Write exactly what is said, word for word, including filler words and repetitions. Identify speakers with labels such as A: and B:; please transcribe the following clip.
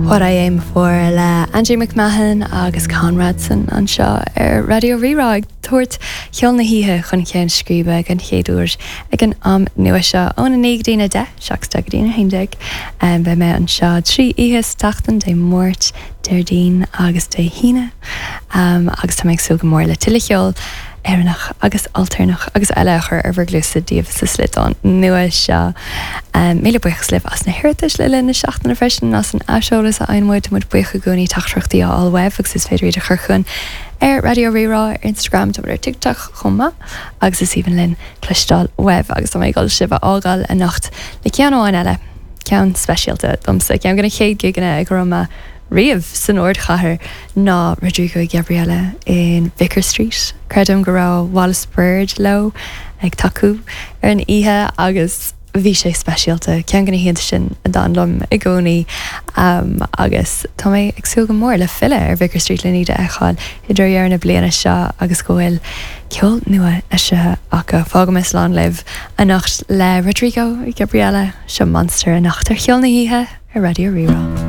A: What I Aim For le Andrew McMahon agus Conradson anseo ar Raidió Rí-Rá ag tabhairt ceol na hoíche chun ceann scríbe den chéad uair ag an am nua seo óna naoi go dtí a deich seacht go dtí a haon déag. Beidh mé anseo trí oíche sa tseachtain Dé Máirt, Déardaoin agus Dé hAoine um, agus tá mé ag súil go mór le tuilleadh ceoil Éireannach agus ailtéarnach agus eile a chur ar bhur gcluasa daoibh sa sliotán nua seo. Um, Míle buíochas libh as na hiarratais le linn na seachtaine freisin as an aiseolas a fhaigheann muid muid buíoch i gcónaí teachtaireachtaí a fháil uaibh agus is féidir iad a chur chugainn ar Raidió Rí-Rá ar Instagram tá ar TikTok chomh maith agus is aoibhinn linn cloisteáil uaibh agus tá mé ag dul sibh a fhágáil anocht le ceann amháin eile ceann speisialta domsa ceann de na chéad gigeanna a raibh mé riamh san ardchathair ná Rodrigo Gabriela in Vicar Street. Creidim go raibh Wallis Bird leo ag tacú ar an oíche agus bhí sé speisialta ceann de na hoícheanta sin a d'fhan liom i gcónaí um, agus tá mé ag súil go mór le filleadh ar Vicar Street le iad a fheiceáil i deireadh na bliana seo agus go bhfuil ceol nua eisithe acu fágfaidh mé slán libh anocht le Rodrigo Gabriela seo Monster anocht ar cheol na hoíche ar Raidió Rí-Rá.